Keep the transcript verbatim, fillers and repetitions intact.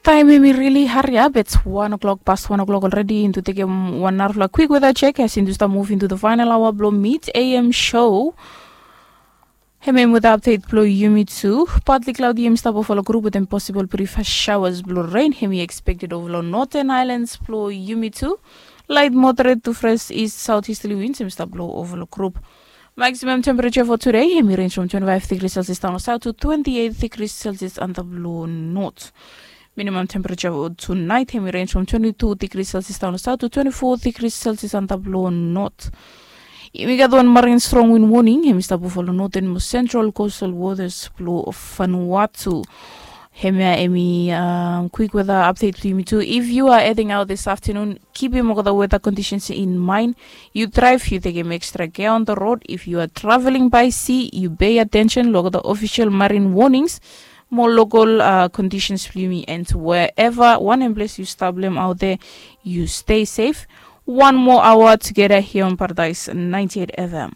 Taem hemi rili hariap, it's wan o'clock, past wan o'clock already. Into tekem wan narafala kwik weda chek as into stap muv into the final aoa blong mit am show. Hemi em weda apdet blong yumi tu. Patli klaudi hemi stap ova long grup wetem posibol brif shaoas blong ren hemi ekspekted ova long noten aelans blong yumi tu. Lait moderet tu fres ist saut istali wins hemi stap blong ova long grup. Maksimam tempereja fo tude hemi renj from twenti faef digri selsias daon long saut tu twenti eit digri selsias antap long not. Minimam tempereja fo tunait hemi renj from twenti tu digri selsias daon long saut tu twenti fo digri selsias antap long not. Yumi gat wan marin strong win woning hemi stap ova long noten mo sentral kostal wotas blong Vanuatu. Hemia hemi kwik weda apdet blong yumi tu. If yu a heding aot this aftanun, kipim olgeta weda kondisens in maen. Yu draev, yu tekem ekstra kea on the rod. If yu a traveling by sea, yu pei atensen long olgeta ofisel marin wonings mo lokol kondisens blong yumi. And wherever, wanem ples yu stap long hem aot there, yu stei sef. Wan moa aoa tugeta hia on Paradais ninety eight F M.